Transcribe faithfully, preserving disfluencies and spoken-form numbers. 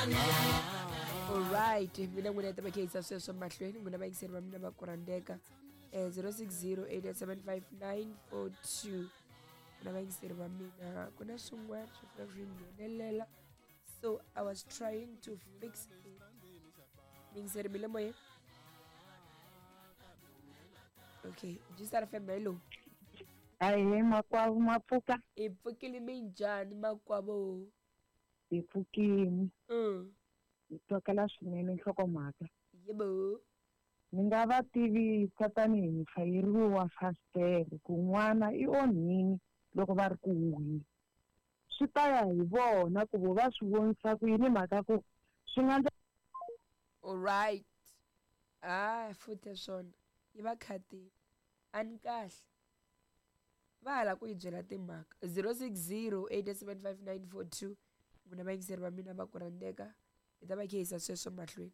Alright, mina n'wina ta va kha sweswo mahlweni n'wina vayingiseri va mina va ku rhandzeka eh zero six zero eight eight seven five nine four two. N'wina vayingiseri va mina ku na swin'wana swi fanele swi nghenelela, so I was trying to fix it. Miyingiseri mi le moyeni? Okay, G-Star F M, hello. Ahee makwavo, mapfuka. Hi pfukile, minjhani makwavo? Hi pfukile. Mm. Hi twakala swinene nhlokomhaka. Yebo. Ni nga va tivisa tanihi muchayeri wa fasitere ku n'wana i onhini loko va ri ku huhweni. Swi ta ya hi vona ku vo va swi vonisa ku yini, mhaka ku swi nga ndla. Alright. Ah, futhi swona yi va khatini a ni kahle va hala ku yi byela timhaka. Zero six zero eight seven five nine four two. N'wina vayingiseri va mina va ku rhandzeka, hi ta va kha hi yisa sweswo mahlweni.